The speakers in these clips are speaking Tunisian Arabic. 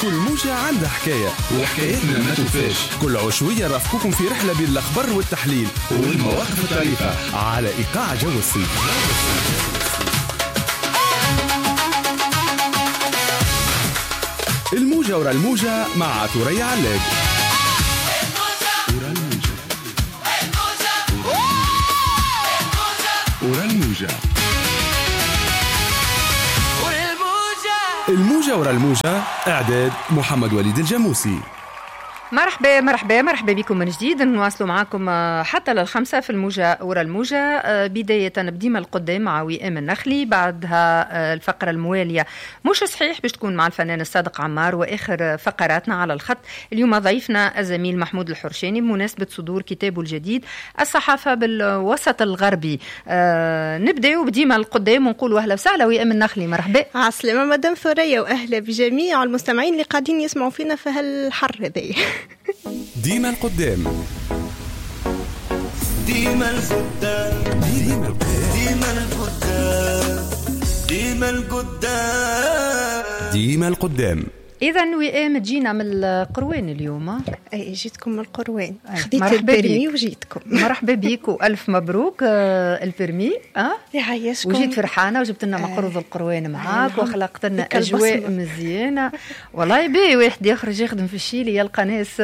كل موجة عندها حكاية وحكايتنا ما توفاش. كل عشوية رافقكم في رحلة بين الأخبار والتحليل والمواقف الطريفة على إيقاع جو الصيف. الموجة ورا الموجة مع ثريا علاج. ورا الموجة، ورا الموجة، الموجة ورا الموجة. إعداد محمد وليد الجاموسي. مرحبا مرحبا مرحبا بكم من جديد. نواصلوا معاكم حتى للخمسة في الموجة ورا الموجة. بداية بديما القدام مع وئام النخلي، بعدها الفقرة الموالية مش صحيح باش تكون مع الفنان الصادق عمار، وآخر فقراتنا على الخط اليوم ضيفنا الزميل محمود الحرشاني بمناسبة صدور كتابه الجديد الصحافة بالوسط الغربي. نبدأ بديما القدام ونقول أهلا وسهلا وئام النخلي، مرحبا. عسلامة مدام ثريا، وأهلا بجميع المستمعين اللي قاعدين يسمعوا فينا في هالحر هذايا. ديما القدام، ديما القدام، ديما القدام، ديما القدام، ديما القدام، ديما القدام. إذا وئام تجينا من القروان اليوم. أي جيتكم من القروان، خديت ال permis وجيتكم. مرحبا بيك وألف مبروك ال permis. يعيشكم. وجيت فرحانة وجبت لنا مقروض القروان معاك وخلقت لنا أجواء مزيانة. والله بي واحد يخرج يخدم في الشيلي يلقى ناس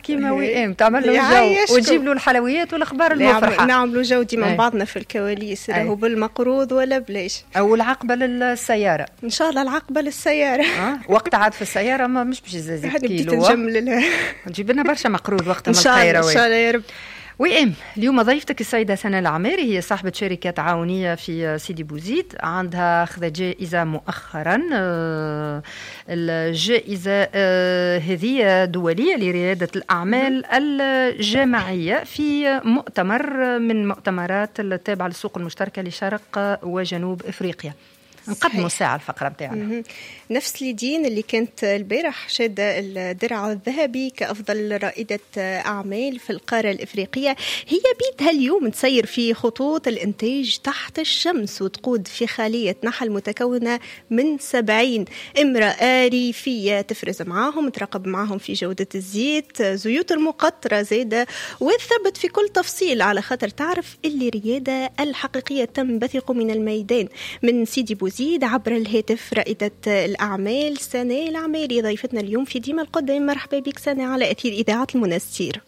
كيما وئام تعمل له جو وتجيب له الحلويات والأخبار المفرحة. نعملوا جو ديما بعضنا في الكواليس، راهو بالمقروض ولا بلاش. أو العقبة للسيارة. إن شاء الله العقبة للسيارة. وقت عاد في السيارة ما مش باش يزيد كيلو. نجيب لنا برشا مقروض وقت من الخيروان. إن شاء الله يا رب. وئام اليوم ضيفتك السيدة سناء العماري، هي صاحبة شركة تعاونية في سيدي بوزيد، عندها أخذت جائزة مؤخرا. الجائزة هذه دولية لريادة الأعمال الجماعية في مؤتمر من مؤتمرات التابعة للسوق المشتركة لشرق وجنوب إفريقيا. نقدموا ساعة الفقرة بتاعنا. نفس ليدين اللي كانت البارح شادة الدرع الذهبي كأفضل رائدة أعمال في القارة الإفريقية، هي بيتها اليوم تسير في خطوط الإنتاج تحت الشمس وتقود في خلية نحل متكونة من 70 امرأة ريفية تفرز معاهم، تراقب معاهم في جودة الزيت، زيوت المقطرة زيادة، وتثبت في كل تفصيل على خاطر تعرف اللي الريادة الحقيقية تنبثق من الميدان. من سيدي بوزيد عبر الهاتف رائدة الأعمال سناء العماري ضيفتنا اليوم في ديما القدام. مرحبا بك سناء على أثير إذاعة المنستير.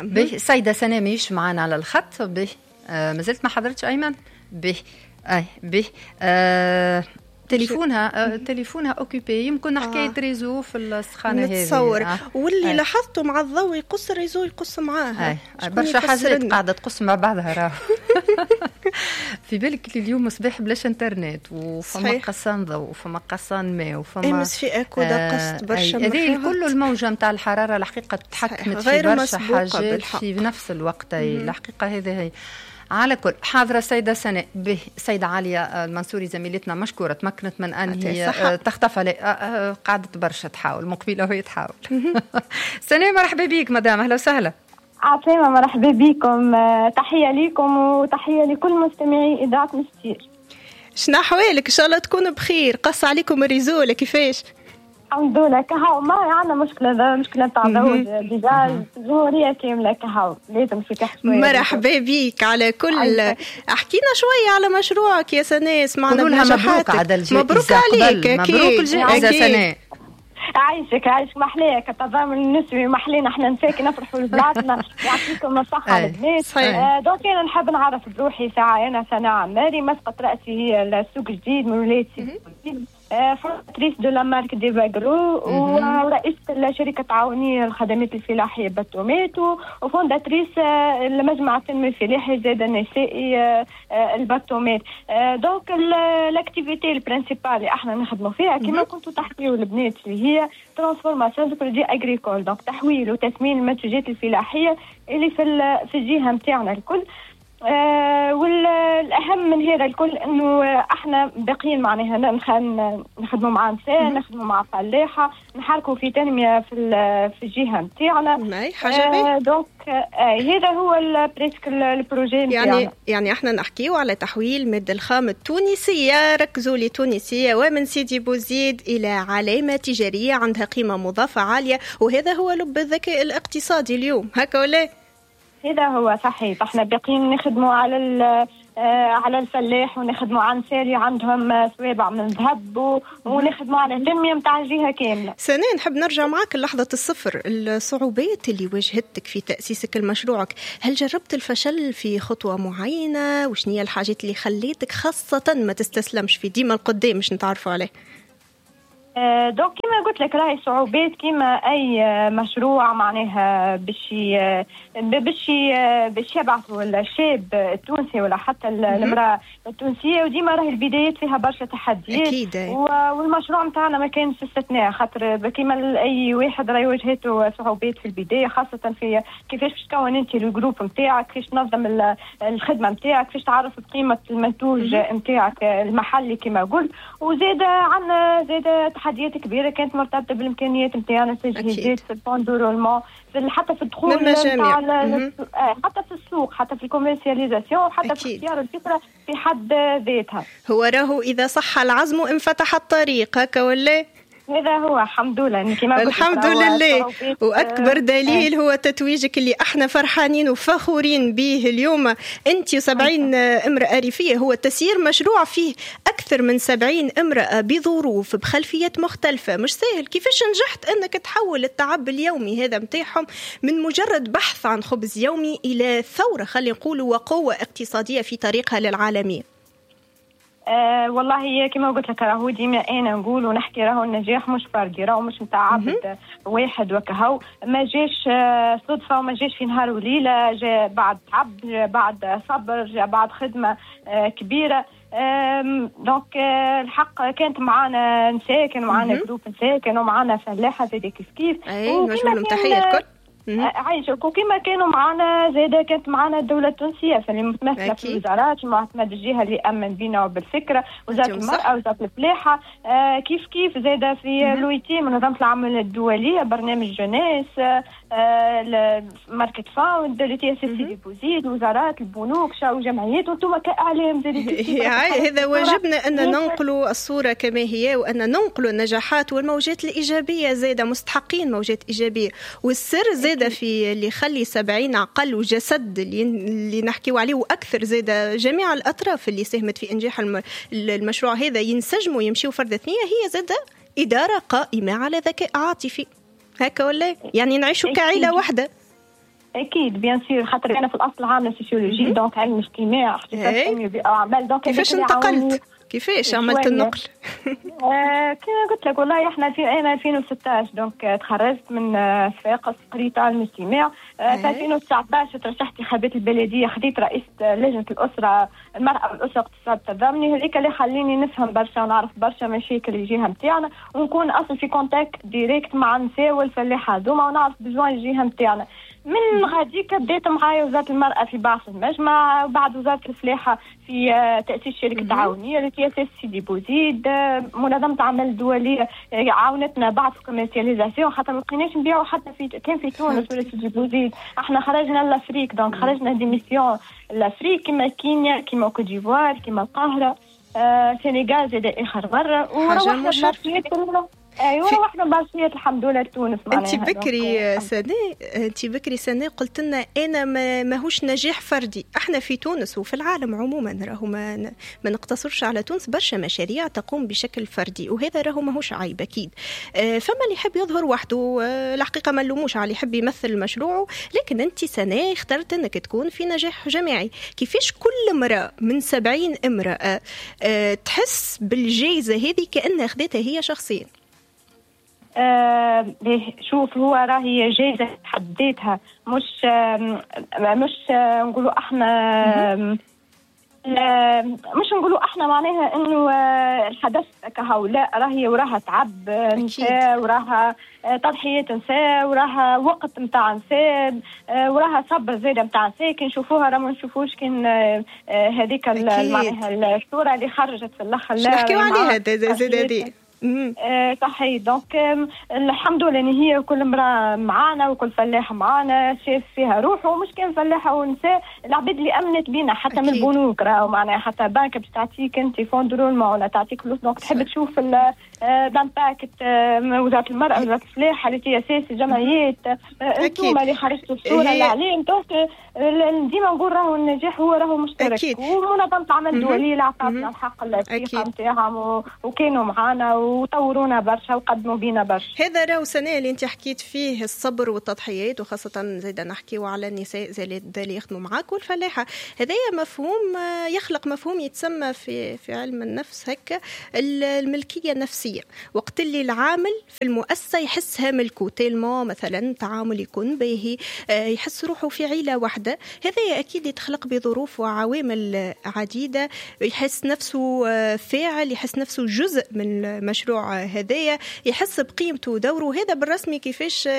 به سيدة سناء مش معنا على الخط. به ما زلت ما حضرتش أيمن. به أي به تليفونها occupé، يمكن حكاية réseau في السخانه هذه نتصور. واللي لاحظته مع الضوء يقص ال réseau يقص معاها برشا حاجات قاعدة تقص مع بعضها راه. في بالك اليوم صباح بلاش انترنت، وفما قصان ضوء وفما قصان ماء وفما امس في اكودا قصت برشا. هذه كل الموجه نتاع الحرارة الحقيقة تحكمت في برشا حاجات في نفس الوقت. الحقيقة هذه هي. على كل حاضرة السيدة سناء. به السيدة عالية المنصوري زميلتنا مشكورة تمكنت من أن هي تختفى، قعدت برشا تحاول مقبلة وهي تحاول. سناء مرحبا بيك مدام، أهلا وسهلا. عسلامة، مرحبا بيكم، تحية ليكم وتحية لكل مستمعي إذاعة مستير. شنو أحوالك؟ إن شاء الله تكون بخير. قص عليكم ال réseau ولا كيفاش؟ الحمد لله كهو ما عندنا مشكلة، مشكلة تاع ضوء déjà الجمهورية كاملة كهو لازم في تحت. مرحبا بيك. على كل احكينا شوية على مشروعك يا سناء، سمعنا بنجاحاتك. مبروك عليك. مبروك الجائزة سناء. عايشك عايشك، محلاك التضامن النسوي، محلينا احنا نساكن نفرحوا لبلادنا، يعطيكم الصحة البنات. donc انا نحب نعرف بروحي ساعة، انا سناء عماري، مسقط رأسي هي السوق الجديد من ولاية سيدي بوزيد، fondatrice de la marque ديفاغرو، ورئيسة الشركة التعاونية للخدمات الفلاحية باتومات، و fondatrice المجمع التنمية الفلاحي زاد النسائي الباتومات. donc l'activité ال principale اللي احنا نخدموا فيها كما كنتوا تحكيوا البنات اللي هي transformation de produits agricoles، donc تحويل وتثمين المنتوجات الفلاحية اللي في الجهة نتاعنا الكل. والاهم من هذا الكل انه احنا باقيين معناها نخدموا مع نساء، نخدموا مع فلاحة، نحركوا في تنمية في الجهة نتاعنا. حاجة donc هذا هو presque ال projet نتاعنا. يعني احنا نحكيو على تحويل المادة الخام التونسية، ركزوا لي تونسية، ومن سيدي بوزيد الى علامة تجارية عندها قيمة مضافة عالية، وهذا هو لب الذكاء الاقتصادي اليوم، هكا ولا؟ هذا هو صحيح. احنا باقيين نخدموا على الفلاح، ونخدموا على النساء اللي عندهم صوابع من ذهب، ونخدموا على التنمية نتاع الجهة كاملة. سناء، نحب نرجع معك لحظة الصفر، الصعوبات اللي واجهتك في تاسيسك لمشروعك، هل جربت الفشل في خطوة معينة؟ وشنو هي الحاجات اللي خليتك خاصة ما تستسلمش في ديما القدام مش نتعرفوا عليه؟ donc كيما قلت لك راهي صعوبات كيما اي مشروع معناها باش يبعثوا الشاب التونسي ولا حتى المراة التونسية، وديما راهي البدايات فيها برشا تحديات. اكيد. والمشروع نتاعنا ما كانش استثناء، خاطر كيما اي واحد راهي واجهته صعوبات في البداية، خاصة في كيفاش باش تكون انت ال groupe نتاعك، كيفاش تنظم الخدمة نتاعك، كيفاش تعرف بقيمة المنتوج نتاعك المحلي كما قلت. وزاد عندنا زاد تحديات كبيرة كانت مرتبطة بالامكانيات نتاعنا، في التجهيزات، في ال fonds de roulement، حتى في الدخول حتى في السوق، حتى في ال commercialisation، حتى في اختيار الفكرة في حد ذاتها. هو راهو اذا صح العزم انفتح الطريق، هكا ولا؟ هذا هو، الحمد لله. كما الحمد لله. واكبر دليل هو تتويجك اللي احنا فرحانين وفخورين به اليوم، انت و70 امراة ريفيه، هو تسيير مشروع فيه اكثر من 70 امراة بظروف بخلفيات مختلفة، مش سهل. كيفاش نجحت انك تحول التعب اليومي هذا متاعهم من مجرد بحث عن خبز يومي الى ثورة، خلينا نقولوا، وقوه اقتصادية في طريقها للعالمية؟ والله كما قلت لك راهو ديما انا نقول ونحكي راهو النجاح مش فردي، راهو مش نتاع عبد واحد وكهو، ما جاش صدفة وما جاش في نهار وليلة، جاء بعد تعب، جاء بعد صبر، جاء بعد خدمة كبيرة. donc الحق كانت معانا نساء، كانوا معانا groupe نساء، كانوا معانا فلاحة زاد كيف كيف. اي نوجه لهم تحية الكل. عايشك. وكما كانوا معنا زاده كانت معنا الدولة التونسية فاللي متمثلة في الوزارات، معتمد الجهة اللي امن بينا وبالفكره، وزارة المراة، وزارة الفلاحة، كيف كيف زاده في l'OIT، منظمة العمل الدولية، برنامج jeunesse، Market Fund، l'ETSS سيدي بوزيد، وزارات، البنوك، وجمعيات، وانتم كاعلام زاد. هذا واجبنا ان ننقلوا الصورة كما هي، وان ننقلوا النجاحات والموجات الايجابية، زاده مستحقين موجات ايجابية. والسر زاد في اللي يخلي 70 عقل وجسد اللي نحكيو عليه واكثر، زاد جميع الاطراف اللي ساهمت في انجاح المشروع هذا ينسجموا ويمشيوا فرد ثنيه، هي زاد ادارة قائمة على ذكاء عاطفي، هكا ولا؟ يعني نعيشوا كعائله واحدة. اكيد bien sûr، خاطر انا في الاصل عامله sociologie، donc علم اجتماع، اختصاص اعمال. donc كيفاش انتقلت؟ كيفاش عملت النقل؟ كما قلت لك والله احنا في عام 2016 donc تخرجت من صفاقس، قريت علم الاجتماع. في 2019 ترشحت انتخابات البلدية، خديت رئيسه لجنة الاسرة، المراة والاسرة اقتصاد التضامني، هذيك اللي خليني نفهم برشا ونعرف برشا مشاكل الجهة نتاعنا، ونكون اصلا في contact direct مع النساء والفلاحه هذوما، ونعرف besoin الجهة نتاعنا. من غاديك بديت معايا وزارة المرأة في بعث المجمع، وبعد وزارة الفلاحة في تأسيس شركة تعاونية l'ETSS سيدي بوزيد، منظمة العمل الدولية عاونتنا بعد في commercialisation، خاطر ما لقيناش نبيعوا حتى في كان في تونس ولا سيدي بوزيد، احنا خرجنا l'Afrique، donc خرجنا des missions l'Afrique كيما كينيا، كيما Côte d'Ivoire، كيما القاهرة، سنغال زاد آخر مرة، وروحنا ايوه روحنا بارشيات الحمد لله لتونس. انت بكري سناء، انت بكري سناء قلت لنا انا ماهوش نجاح فردي، احنا في تونس وفي العالم عموما راهو ما نقتصرش على تونس، برشا مشاريع تقوم بشكل فردي، وهذا راهو ماهوش عيب اكيد. فما اللي يحب يظهر وحده، الحقيقة ما نلوموش على اللي يحب يمثل مشروعه، لكن انت سناء اخترت انك تكون في نجاح جماعي. كيفاش كل امراة من 70 امراة تحس بالجائزة هذه كانها اخذتها هي شخصيا؟ شوف، هو راهي جايزة حد ذاتها، مش نقولوا احنا مش نقولوا احنا معناها انه الحدث كهو، لا راهي وراها تعب نساء، وراها تضحيات نساء، وراها وقت نتاع نساء، وراها صبر زاده نتاع نساء. كي نشوفوها راه ما نشوفوش كان هذيك معناها الصورة اللي خرجت في الاخر، لا نحكيو عليها زاد هذه. صحيح. donc الحمد لله ان هي كل امراة معانا وكل فلاح معانا شاف فيها روحه، مش كان فلاحة ونساء، العباد اللي امنت بينا حتى من البنوك راهو معناها حتى بنك باش تعطيك انت fonds de roulement ولا تعطيك فلوس، donc تحب تشوف l'impact وزارة المراة، وزارة الفلاحة، les TSS، الجمعيات، انتم اللي خرجتوا الصورة الاعلام. donc ديما نقول راهو النجاح هو راهو مشترك، ومنظمة العمل الدولية اللي عطاتنا الحق الثقة نتاعهم وكانوا معانا وطورونا برشا وقدموا بينا برشا. هذا راهو سنة اللي انت حكيت فيه الصبر والتضحيات، وخاصة زيدا نحكيو على النساء زي اللي يخدموا معاك والفلاحة. هذايا مفهوم يخلق مفهوم يتسمى في علم النفس هكا الملكية النفسية، وقت اللي العامل في المؤسسة يحسها ملكو tellement مثلا تعامل يكون باهي، يحس روحه في عيلة واحدة. هذا أكيد يتخلق بظروف وعوامل عديدة، يحس نفسه فاعل، يحس نفسه جزء من المشروع هذايا، يحس بقيمته ودوره. هذا بالرسمي كيفاش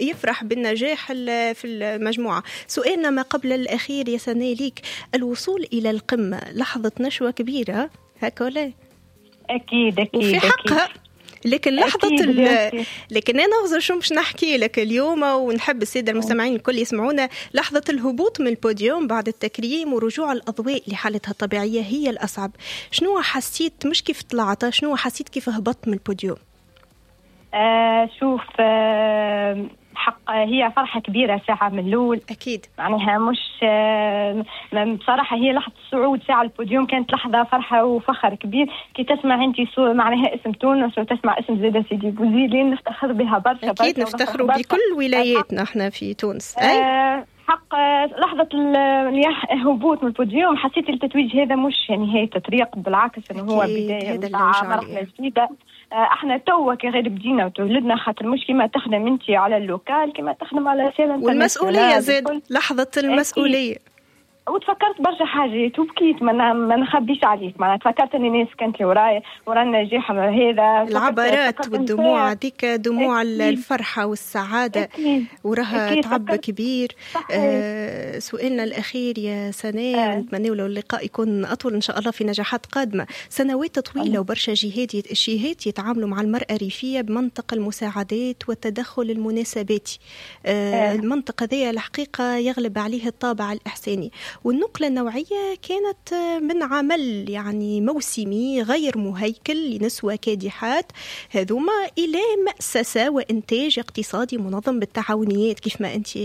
يفرح بالنجاح في المجموعة. سؤالنا ما قبل الأخير يا سناء ليك، الوصول إلى القمة لحظة نشوة كبيرة هكا ولا؟ أكيد أكيد، وفي حقها. لكن لحظة لكن أنا أغزر شو مش نحكي لك اليوم، ونحب السادة المستمعين الكل يسمعونا، لحظة الهبوط من البوديوم بعد التكريم ورجوع الأضواء لحالتها الطبيعية هي الأصعب. شنو حسيت، مش كيف طلعت، شنو حسيت كيف هبطت من البوديوم؟ شوف حق هي فرحة كبيرة ساعة من الأول أكيد، معناها مش بصراحة هي لحظة الصعود ساعة البوديوم كانت لحظة فرحة وفخر كبير كي تسمع أنت معناها اسم تونس وتسمع اسم زيادة سيدي بوزيد اللي نفتخر بها برشا. أكيد نفتخر بكل ولاياتنا احنا في تونس. حق لحظة الهبوط من البوديوم حسيت التتويج هذا مش نهاية الطريق، بالعكس انه هو بداية مرحلة جديدة. احنا توا كي غير بدينا وتولدنا، خاطر مش كيما تخدم انت على ال local كيما تخدم على l'échelle. والمسؤولية زاد، لحظة المسؤولية. وتفكرت برشا حاجات وبكيت، ما نخبيش عليك، معناها تفكرت ان الناس كانت اللي ورايا ورا النجاح هذا، العبرات والدموع هذيك دموع الفرحة والسعادة وراها تعب كبير. سؤالنا الاخير يا سناء، نتمنى لو اللقاء يكون اطول ان شاء الله في نجاحات قادمة. سنوات طويلة وبرشا جهات يتعاملوا مع المراة الريفية بمنطق المساعدات والتدخل المناسباتي. المنطقة ذي الحقيقة يغلب عليه الطابع الاحساني، والنقلة النوعية كانت من عمل يعني موسمي غير مهيكل لنسوة كادحات هذوما إلى مؤسسة وإنتاج اقتصادي منظم بالتعاونيات كيف ما أنت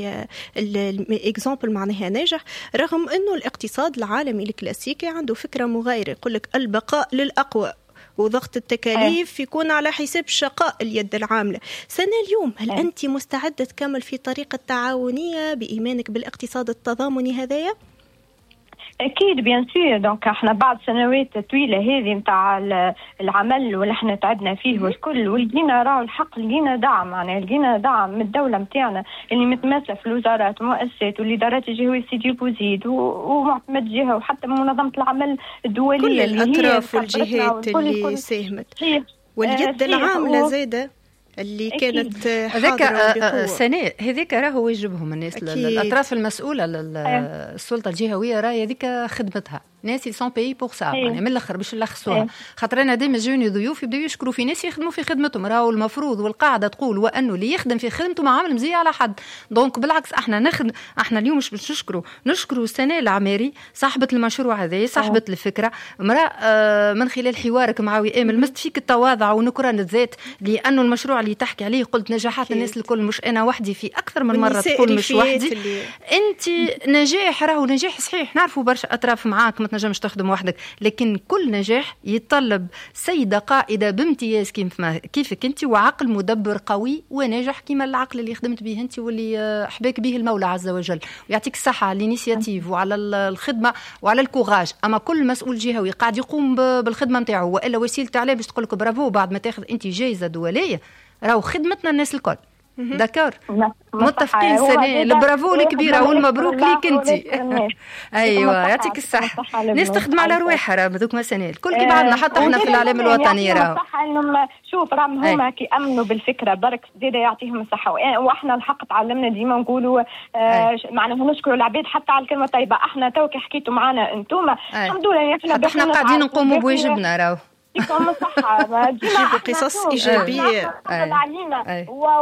ال exemple معناها ناجح، رغم أنه الاقتصاد العالمي الكلاسيكي عنده فكرة مغايرة، يقول لك البقاء للأقوى وضغط التكاليف يكون على حساب شقاء اليد العاملة. سنة اليوم هل أنت مستعدة تكمل في طريق التعاونية بإيمانك بالاقتصاد التضامني هذايا؟ اكيد bien sûr. donc احنا بعد سنوات طويلة هذه نتاع العمل واللي احنا تعبنا فيه والكل، ولقينا راهو الحق، لقينا دعم، معناها لقينا دعم من الدولة نتاعنا اللي متمثلة في الوزارات والمؤسسات والادارات الجهوية سيدي بوزيد ومعتمد جهة وحتى منظمة العمل الدولية، كل الاطراف والجهات اللي ساهمت واليد العاملة زاده اللي كانت هذاك سناء، هذاك راهو واجبهم الناس الاطراف المسؤولة للسلطة الجهوية، راهي هذيك خدمتها، ناس sont payés pour ça، يعني من الاخر باش نلخصوها، خاطر انا ديما جوني ضيوف يبداو يشكروا في ناس يخدموا في خدمتهم، راهو المفروض والقاعدة تقول وانه اللي يخدم في خدمته ما عامل مزية على حد. donc بالعكس احنا نخدم، احنا اليوم مش باش نشكروا سناء العماري صاحبه المشروع هذا، صاحبه الفكرة، امراة من خلال حوارك مع وئام لمست فيك التواضع ونكران الذات، لانه المشروع اللي تحكي عليه قلت نجاحات الناس الكل مش انا وحدي، في اكثر من مرة تقول مش وحدي. انت نجاح راهو نجاح صحيح، نعرفوا برشا اطراف معاك ما تنجمش تخدم وحدك، لكن كل نجاح يتطلب سيده قائده بامتياز كيفك انت، وعقل مدبر قوي وناجح كما العقل اللي خدمت به انت واللي حباك به المولى عز وجل. ويعطيك الصحة على l'initiative وعلى الخدمة وعلى ال courage. اما كل مسؤول جهوي قاعد يقوم بالخدمة نتاعو والا وسيلة اعلام باش تقول لك برافو بعد ما تاخذ انت جائزة دولية، راهو خدمتنا الناس الكل. d'accord، متفقين سناء؟ البرافو الكبيرة والمبروك ليك انت. ايوه يعطيك الصحه، الناس تخدم على رواحها راه هذوك سناء الكل كي بعضنا، حتى احنا في الاعلام الوطني راه. الصحة انهم شوف راهم هما كي امنوا بالفكرة برك زيادة يعطيهم الصحه، واحنا الحق تعلمنا ديما نقولوا معناها نشكروا العباد حتى على الكلمة الطيبه. احنا تو كي حكيتوا معنا انتم الحمد لله احنا قاعدين نقوموا بواجبنا راهو. يعطيكم الصحة، جيبوا قصص إيجابية.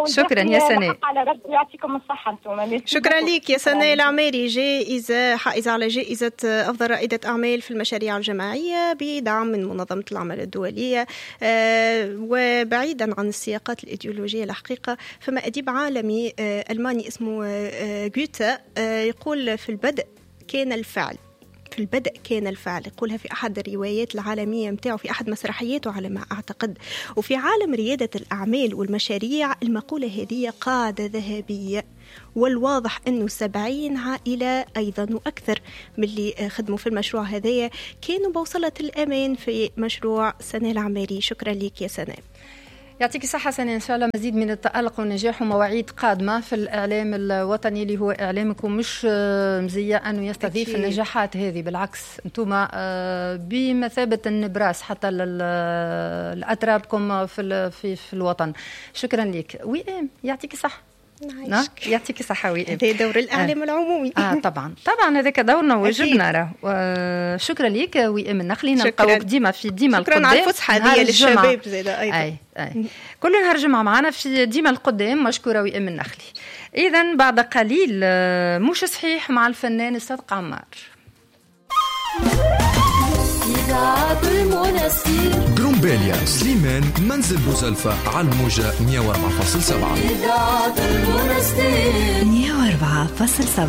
شكرا يا سناء، على ربي يعطيكم الصحة انتم. شكرا لك يا سناء العماري، جائزة حائزة على جائزة أفضل رائدة أعمال في المشاريع الجماعية بدعم من منظمة العمل الدولية. وبعيدا عن السياقات الإيديولوجية الحقيقة، فما أديب عالمي ألماني اسمه غوته يقول في البدء كان الفعل، في البدء كان الفعل، يقولها في أحد الروايات العالمية متاعه، في أحد مسرحياته على ما أعتقد. وفي عالم ريادة الأعمال والمشاريع المقولة هذه قاعدة ذهبية، والواضح أنه 70 عائلة أيضا وأكثر من اللي خدموا في المشروع هذايا كانوا بوصلة الأمان في مشروع سناء العماري. شكرا لك يا سناء. يعطيك الصحة سناء، إن شاء الله مزيد من التألق والنجاح ومواعيد قادمة في الإعلام الوطني اللي هو إعلامكم، مش مزية أنه يستضيف النجاحات هذه، بالعكس أنتم بمثابة النبراس حتى لأترابكم في الوطن. شكرا لك وئام، يعطيك الصحة. يعطيك الصحة وئام، هذا دور الإعلام العمومي. طبعا طبعا هذاك دورنا وواجبنا راه. شكرا لك وئام النخلي، نلقاوك ديما في ديما القدام. شكرا على الفسحة هذه للشباب زاده أيضا. أي. كل نهار جمعة معنا في ديما القدام. مشكورة وئام النخلي. إذا بعد قليل مش صحيح مع الفنان الصادق عمار. إذاعة المنستير، قرمبالية، سليمان، منزل بوزلفة، على الموجة 104.7. إذاعة المنستير 104.7.